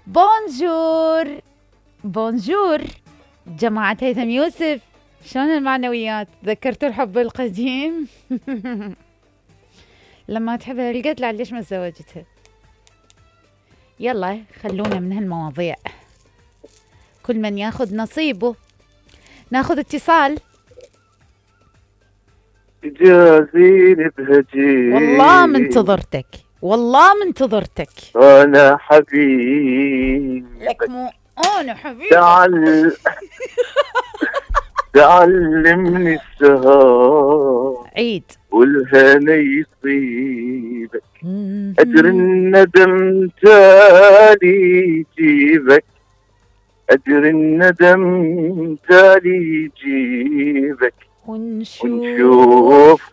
بونجور بونجور جماعة هيثم يوسف، شلون المعنويات؟ تذكرتوا الحب القديم؟ لما تحبها القتلة ليش ما تزوجتها؟ يلا خلونا من هالمواضيع، كل من ياخذ نصيبه. ناخذ اتصال. جازيني بهجين، والله منتظرتك، والله منتظرتك. أنا حبيبي لك مو أنا حبيبي. تعلمني السهر عيد والهنا يصيبك، أجر الندم تالي يجيبك، أجر الندم تالي يجيبك، ونشوف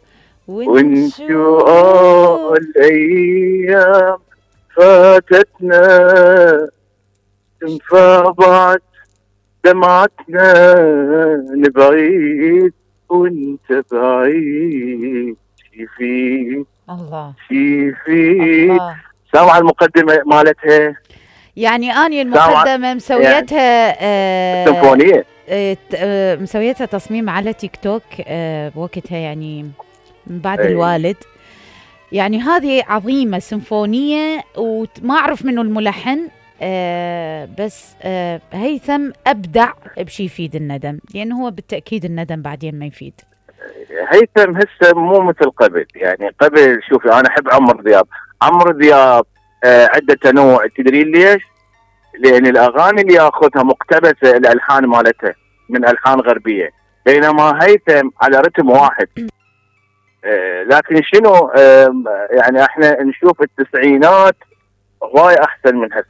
الأيام فاتتنا، انفاضت دمعتنا، نبعيد وانت بعيد، شيفي الله شيفي. سامع المقدمة مالتها؟ يعني أني المقدمة مسويتها سيمفونية، مسويتها تصميم على تيك توك بوقتها، يعني من بعد الوالد. يعني هذه عظيمة سيمفونية، وما أعرف منه الملحن، بس هيثم أبدع بشي يفيد الندم، لأنه هو بالتأكيد الندم بعدين ما يفيد. هيثم هسه مو مثل قبل، يعني قبل شوفي أنا أحب عمرو دياب عدة تنوع. تدرين ليش؟ لأن الأغاني اللي ياخذها مقتبسة الألحان مالتها من ألحان غربية، بينما هيثم على رتم واحد. لكن شنو، يعني احنا نشوف التسعينات غاية أحسن من هسه.